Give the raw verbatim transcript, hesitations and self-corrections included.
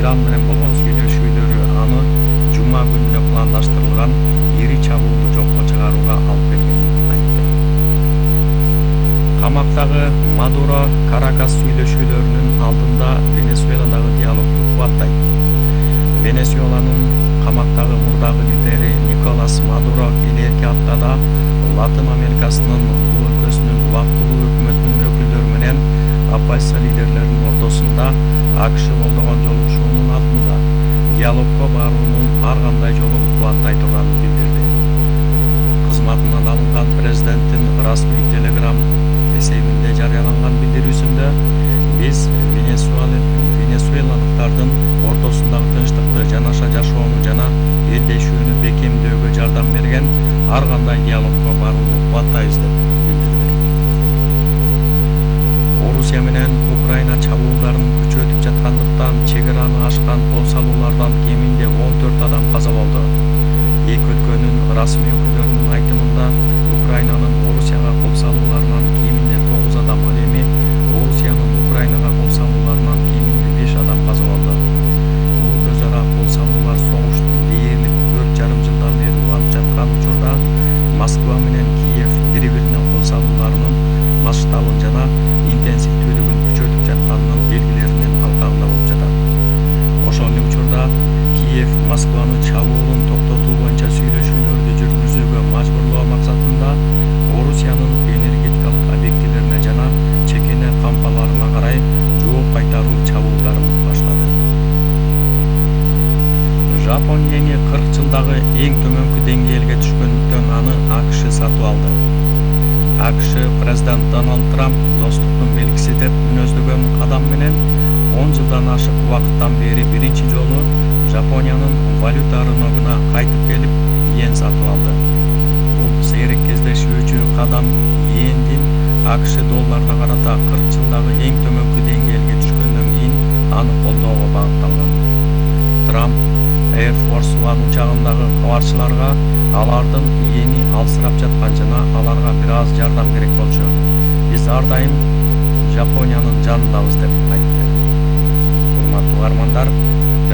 Иран менен болгон сүйлөшүүлөрү аны жума күнүнө пландаштырылган ири чабуулду жокко чыгарууга алып келгенин айтты. Камактагы Мадуро Каракас сүйлөшүүлөрүнүн алдында Венесуэладагы диалогду кубаттайт. Венесуэланын камактагы мурдагы лидери Николас Мадуро келерки аптада Латын Америкасынын бул өлкөсүнүн убактылуу өкмөтүнүн өкүлдөрү менен оппозиция лидерлеринин ортосунда АКШ колдогон жолугушуунун алдында диалогко баруунун ар кандай жолун кубаттай турганын билдирди. Кызматынан алынган президенттин расмий телеграм эсебинде жарыяланган билдирүүсүндө биз венесуэлалыктардын ортосундагы тынчтыкты, жанаша жашоону жана элдешүүнү бекемдөөгө жардам берген ар кандай диалогко барууну кубаттайбыз деп билдирди. Орусия менен Украина чабуулдарын күчөтүп жаткандыктан чек араны ашкан кол салуулардан кеминде он төрт адам каза болду. Эки өлкөнүн расмий өкүлдөрүнүн айтымында Украинанын Орусияга кол салууларынан кеминде тогуз адам, ал эми Орусиянын Украинага кол салууларынан кеминде беш адам каза болду. Бул өз ара кол салуулар согуш дээрлик төрт жарым жылдан бери уланып жаткан учурда Москва менен Киев бири-бирине кол салууларынын масштабын жана интенсивдүүлүгүн күчөтүп жатканынын белгилеринин алкагында болуп жатат. Ошол эле учурда Киев Москваны чабуулун токтотуу боюнча сүйлөшүүлөрдү жүргүзүүгө мажбурлоо максатында Орусиянын энергетикалык объектилерине жана чекене кампаларына карай жооп кайтаруу чабуулдарын баштады. Жапония кырк жылдагы эң төмөнкү деңгээлге түшкөндүктөн аны АКШ сатып алды. АКШ президент Дональд Трамп достуктун белгиси деп мүнөздөгөн кадам менен он жылдан ашык убакыттан бери биринчи жолу Жапониянын валюта рыногуна кайтып келип, иен сатып алды. Бул сейрек кездешүүчү кадам иендин АКШ долларына карата кырк жылдагы эң төмөнкү деңгээлге түшкөндөн кийин аны колдоого багытталган. Трамп Air Force One учагындагы кабарчыларга алардын иени алсырап жаткан жана аларга бир аз жардам керек болчу. Биз ар дайым Жапониянын жанындабыз деп айтты. Урматтуу угармандар,